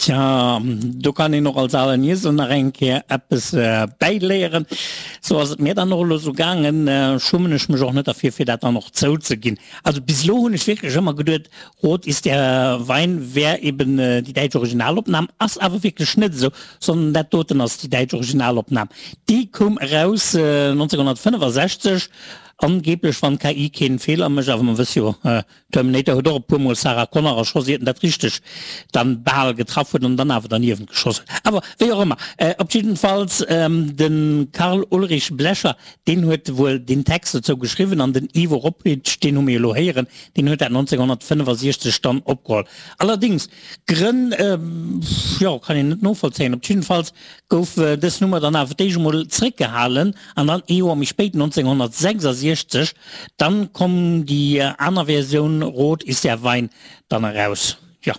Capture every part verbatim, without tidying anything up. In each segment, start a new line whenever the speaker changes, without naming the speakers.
Tja, do kann een och als alen Iesel nach eng Kéier eppes bäiléieren. Sou ass et mir dann och elo sou gaangen. Schummen ech mech och net derfir, fir dat dann och zouzeginn. Also bis elo hunn ech wierklech ëmmer geduet, Rot ist der Wein wär eben déi däitsch Originalopnam. Ass awer wierklech net esou, sondern dat doten ass déi däitsch Originalopnam. Déi koum eraus neunzehnhundertfünfundsechzig, angeblech, wann d'K I keen Feeler mécht, awer mer wësse jo, Terminator huet och e puer mol Sarah Connor erschoss, iert en dat richteg dann bal getraff huet an dann awer derniewent geschoss huet. Awer wéi och ëmmer, op jiddefalls de Karl Ulrich Blecher, deen huet wuel deen Text dozou geschriwwen an den Ivo Robitsch, deen hu mir elo héieren, deen huet dat neunzehnhundertfünfundsechzig dann opgeholl. Allerdings, Grënn, jo, kann een net novollzéien. Op jiddefalls gouf dës Nummer dann awer d'éischt emol zréckgehalen an dann ee Joer méi spéit, neunzehnhundertsechsundsechzig, dann komm déi aner Versioun Rot ist der Wein dann eraus. Jo,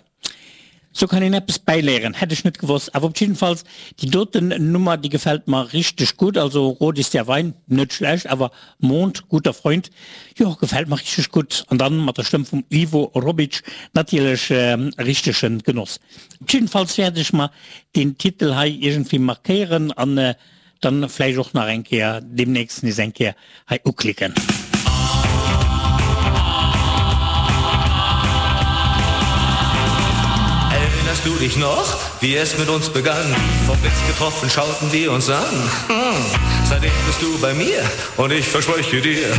sou kann een eppes bäiléieren, hätt ech net gewosst. Awer op jiddefalls, déi doten Nummer, déi gefält mer richteg gutt. Also Rot ist der Wein, net schlecht, awer Mond, guter Freund, jo, gefält mer richteg gutt. An dann mat der Stëmm vum Ivo Robitsch natierlech e richtege Genoss. Op jiddefalls wäert ech mer deen Titel hei iergendwéi markéieren an dann vläicht och nach eng Kéier deemnächst nees eng Kéier hei uklicken.
Erinnerst du dich noch, wie es mit uns begann? Vom Blitz getroffen schauten wir uns an. Hm. Seitdem bist du bei mir und ich verspreche dir.